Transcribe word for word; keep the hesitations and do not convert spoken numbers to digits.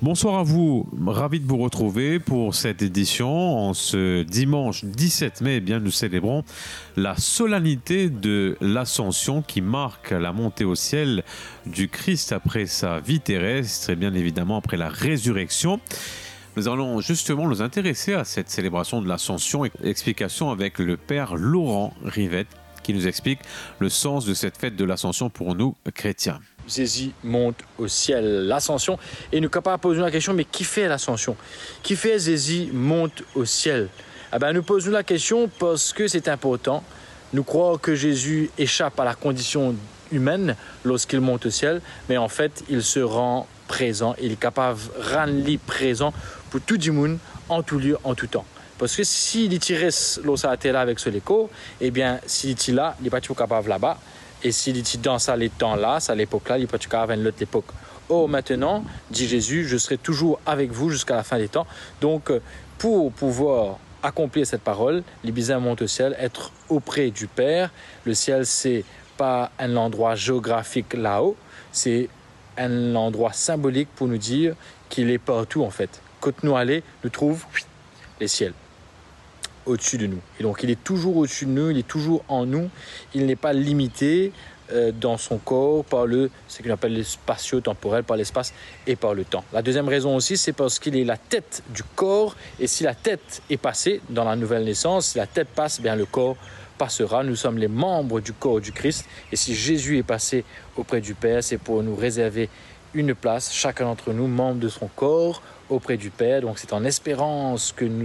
Bonsoir à vous, ravi de vous retrouver pour cette édition. En ce dimanche dix-sept mai, eh bien, nous célébrons la solennité de l'Ascension qui marque la montée au ciel du Christ après sa vie terrestre et bien évidemment après la résurrection. Nous allons justement nous intéresser à cette célébration de l'Ascension. Explication avec le père Laurent Rivette qui nous explique le sens de cette fête de l'Ascension pour nous chrétiens. Zezi mont o siel, Lasansion, e nou kapav poz nou lakestion, me kifer Lasansion? Kifer Zezi mont o siel? Eben, nou poz nou lakestion parski se inportan. Nou krwar ki Zezi esap a lakondision imenn lorski li mont o siel, me anfet, li se ran prezan e li kapav rann li prezan pou tou dimoun, an tou lie, an tou tan. Parski si li ti res lor sa later la avek so lekor, ebien, si li ti la, li pa ti pou kapav laba, e si li ti dan sa letan la, sa lepok la, li pa ti kapav enn lot lepok. Or, maintenant, dit Jésus, je serai toujours avec vous jusqu'à la fin des temps. Donc, euh, pour pouvoir accomplir cette parole, li bizin mont o siel, être auprès du Père. Le ciel, c'est pas un endroit géographique là-haut, c'est un endroit symbolique pour nous dire qu'il est partout, en fait. Kot nou ale, nou trouv lesiel au-dessus de nous. Et donc, il est toujours au-dessus de nous, il est toujours en nous, il n'est pas limité, euh, dans son corps par le, ce qu'on appelle le spatio-temporel, par l'espace et par le temps. La deuxième raison aussi, c'est parce qu'il est la tête du corps, et si la tête est passée dans la nouvelle naissance, si la tête passe, bien le corps passera. Nous sommes les membres du corps du Christ, et si Jésus est passé auprès du Père, c'est pour nous réserver une place, chacun d'entre nous, membre de son corps, auprès du Père. Donc c'est en espérance que nous